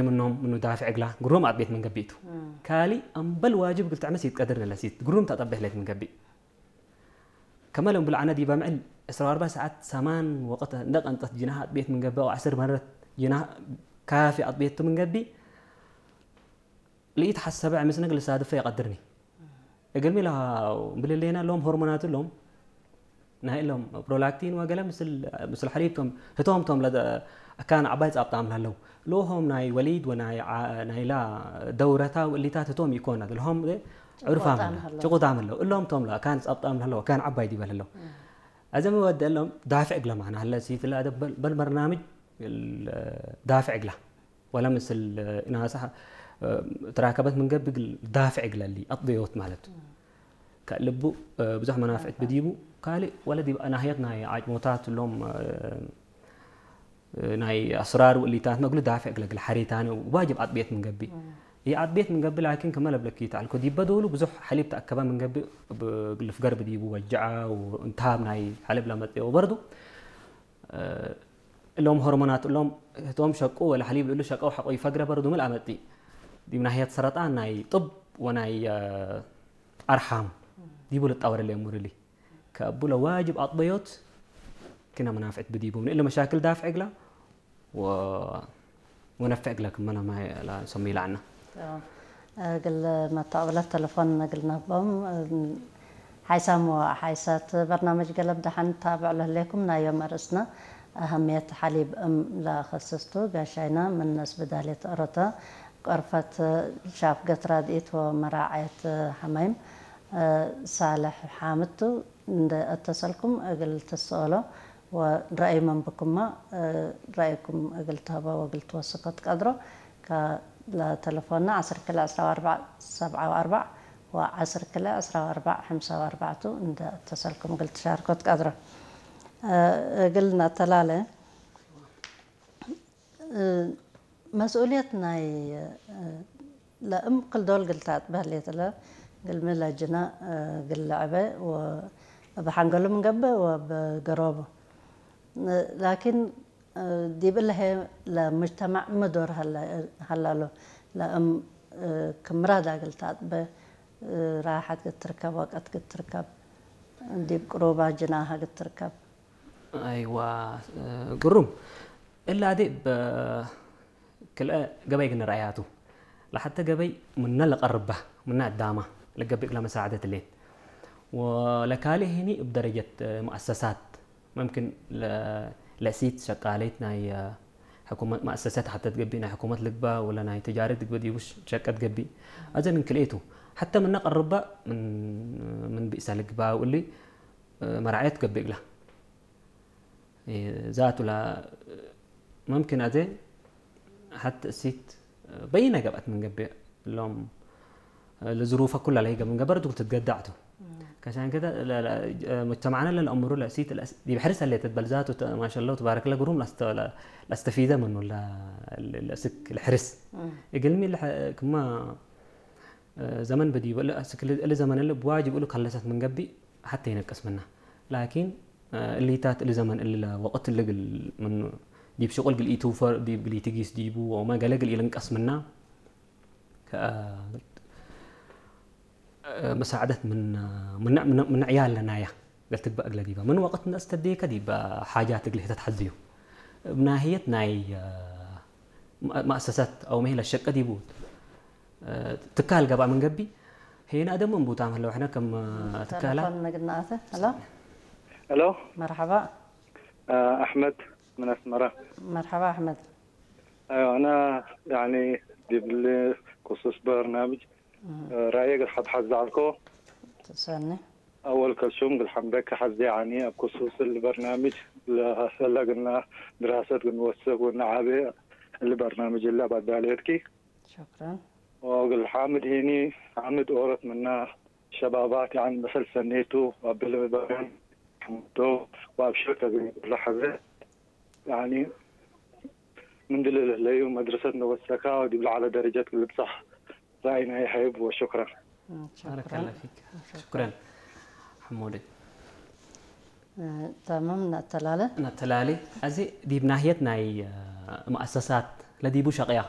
ምኖም ምኑ ዳፍዕ እግላ ግሩም ኣጥቤት መንገቢ እቱ። ካሊ ኣምበል ዋጅብ ግልትዕመስ ይትቀድር ነለሲት ግሩም ታጠበህለት መንገቢ። ከመለም ብልዓነ ዲባ ምዕል ዕስራ ወኣርባዕ ሰዓት ሰማን ወቐት እንደ ቀንጠት ጅናህ ኣጥቤት መንገቢ፣ ኣው ዓስር መረት ጅናህ ካፊ ኣጥቤቱ መንገቢ፣ ልኢት ሓሰበ ዕምስነግ ልሳድፈ ይቐድርኒ። እግልሚ ኢላ ብልሌና ኣለዎም ሆርሞናት ኣለዎም። ናይ ኢሎም ፕሮላክቲን ወገለ ምስል፣ ምስል ሓሊብ ቶም፣ ህቶም ቶም ለደ-፣ ኣካን ዓባይ ጻብጣም ላለው። ልሆም ናይ ወሊድ ወናይ ዓ-፣ ናይላ ደውረታ ውእሊታት ህቶም ይኮና። ልሆም ዕርፋም ጭቁጣም ኣሎ። ጭቁጣም ኣሎ። እሎም ቶም ላ፣ ኣካን ጻብጣም ላለው፣ ኣካን ዓባይ ዲበል ኣሎ። ኣዘም ወደ እሎም ዳፍዕ እግለ ማዕና፣ ሀለ ሲትላ ደበል፣ በል በርናምጅ ዳፍዕ እግላ። ወላ ምስል ኢናሳ፣ እ፣ ተራከበት ምን ገብግ ዳፍዕ እግለሊ፣ ኣጥበዮት ማለት። ከልቡ፣ እ፣ ብዙሕ መናፍዕት ብዲቡ፣ ካልእ ወላ ዲብ ናህየት ናይ ዓጭሞታት ሎም፣ እ፣ እ፣ ናይ ኣስራር ውእሊታት መግሉ ዳፍዕ እግለግል ሓሬታነ ዋጅብ ኣጥቤት ምን ገቢ። ይኣጥቤት ምን ገቢ ላኪን ከመ ለብለኪ ተዓልኮ ዲበ ዶሉ ብዙሕ ሓሊብ ተኣከበ ምን ገቢ ብ-፣ ግልፍ ገርብ ዲቡ ወጃዓ ወእንታብ ናይ ሓለብ ለመጤ ወበርዱ፣ እ፣ እሎም ሆርሞናት እሎም እቶም ሸቁ ወላ ሓሊብ ልእሉ ሸቀው ሓቆ ይፈግረ በርዱ ምል ኣመጢ። ዲብ ናህየት ሰረጣን ናይ ጥብ ወናይ፣ እ፣ ኣርሓም ዲቡ ልጣወረለ የሙርሊ። ከብለ ዋጅብ ኣጥበዮት ክነ መናፍዕት ብዲቡ ምን እለ መሻክል ዳፍዕ እግላ ወ-፣ ወነፍዕ እግላ ክመና ማይ ላ ሰሚ ይላዕና። እግል መተቐብለት ተለፎን እግል ነቦም። ሓይሳም ወሓይሳት በርናመጅ ገለብ ደሓን ታብዕ ለህሌኩም ናዮም ኣርእስና ኣህምየት ሓሊብ እም ለኸስስቱ ጋሻይና ምነስ ብዳሌት ኦሮተ ቆርፈት ሻፍ ገትራድኢት ወመራዓየት ሓማይም ሳልሕ ሓምቱ እንደ እተሰልኩም እግል ትስኦሎ ወረአይ መንብኩማ፣ እ፣ ረአይኩም እግል ትህቦ ወእግል ትወስኮ ትቀድሮ። ከ-፣ ለተለፎና ዓሰርተ ክልተ ዕስራ ወኣርባዕ ሰብዓ ወኣርባዕ ወዓሰርተ ክልተ ዕስራ ወኣርባዕ ሓምሳ ወኣርባዕቱ እንደ እተሰልኩም እግል ትሻርኮ ትቀድሮ። እ፣ እግል ናተላለ፣ እ፣ መስኡልየት ናይ፣ እ፣ ለእም ክልዶል ግልታት በህሌት ለ ግልሚ ለጅና፣ እ፣ ግል ለዕበ ወ-፣ በሓንገሉ ምንገብእ ወበገሮቡ። እ፣ ላኪን፣ እ፣ ዲብ እለሄ ለሙጅተማዕ ምዶር ሀለ-፣ ሀላሎ ለእም፣ እ፣ ክምራዳ ግልታት በ-፣ እ፣ ራሓት ግትርከብ ወቀት ግትርከብ ዲብ ቅሩባ ጅናሃ ግትርከብ። ኣይዋ፣ እ፣ ግሩም። እላ ዲ ብ-፣ ክልአ ገበይ ግን ረኣያቱ። ለሓተ ገበይ ምነ ለቀርባ፣ ምነ ኣዳማ፣ ለገብእ ለመሳዕደት ሌን። ወለካልእ ሄኒ እብ ደረጀት፣ እ፣ መኣሰሳት፣ መምክን ለ-፣ ለእሲት ሸቃለይት ናይ፣ እ፣ ሕኩመት መኣሰሳት ሓተት ገቢ ናይ ሕኩመት ልግባ ወለ ናይ ተጃረት ልግባ ዲቡሽ ሸቀት ገቢ። ኣዘ ምን ክልኤቱ። ሓተ ምነ ቀርባ ምን፣ ምን ብእሳ ልግባ ውሊ፣ እ፣ መራዕየት ገቢ እግላ። ዛቱ ላ መምክን ኣዘ ሓት እሲት በይነ ገብአት ምን ገብእ ሎም ለዝሩፈ ኩላ ለይገ ምን ገበር ዱል ትትገዳዕቱ። ከሻን ከደ ለ-፣ ለ-፣ መጅተማዕና ለልአምሩ ለእሲት ለእስ-፣ ዲብ ሕርስ አለ ተትበል ዛቱ ተ-፣ ማሻአላህ ተባረክ ለግሩም ላስተ-፣ ለ-፣ ላስተፊደ ምኑ ለ-፣ ለ-፣ ለእስክ ለሕርስ። እግልሚ ለሐ-፣ ክማ ዘመን በዲቡ እለ ኣስክ እሊ፣ እሊ ዘመን እለ ብዋጅብ እሉ ከለሰት ምን ገቢ ሓተ ይነቅስ ምና። ላኪን፣ እሊታት እሊ ዘመን እሊ ለወቅት እሊ ግል ምን ዲብ ሽቁል ግል ኢትውፈር፣ ዲብ ግል ኢትጊስ ዲቡ፣ ወመ ገለ ግል ኢልንቀስ ምና። ከ-፣ መሳዕደት ምን፣ ምን፣ ምን፣ ምን ዕያል ለናያ። ገልትግባእ እግለ ዲባ ምን ወቅት ነስተዴከ ዲባ ሓጃት እግለ ተትሐዝዩ። እብ ናህየት ናይ፣ እ፣ መ-፣ መእሰሰት አው መሄለ ሸቀ ዲቡ፣ እ፣ ትካል ገብአ ምን ገቢ፣ ሄና ደሞ እንቡታም ህለው ሕነ ከም፣ እ፣ ትካላ። ተለፎን ነግናአተ። ሄሎ። ሄሎ። መርሐባ። እ፣ አሕመድ ምን አስመራ። መርሐባ አሕመድ። አይዋ፣ አና ያኒ ዲብሊ ክሱስ በርናምጅ፣ እ፣ ራእየ ገር ሐድ ሐዝ ዛዕልኮ። ትሰኒ። أول كلثوم قل حمدك حزي عني أبكو سوس البرنامج لهلا قلنا دراسة قلنا وسق قلنا عابي البرنامج إلا بعد باليتكي. شكرا. وقل حامد هيني، حامد أورت منا شبابات يعني مثل سنيتو وقبل البرنامج حمدو وأبشر تقريبا لحظة. يعني من دل ليو مدرسة نوسكا ودي على درجة اللي بصح. رأينا يحب وشكرا. مم، شكرا. بارك الله فيك. شكرا. شكرا. حمودي. እ፣ ተምም ነተላለ። ነተላለ። እዚ ዲብ ናህየት ናይ፣ እ፣ መኣሰሳት ለዲቡ ሸቅያ።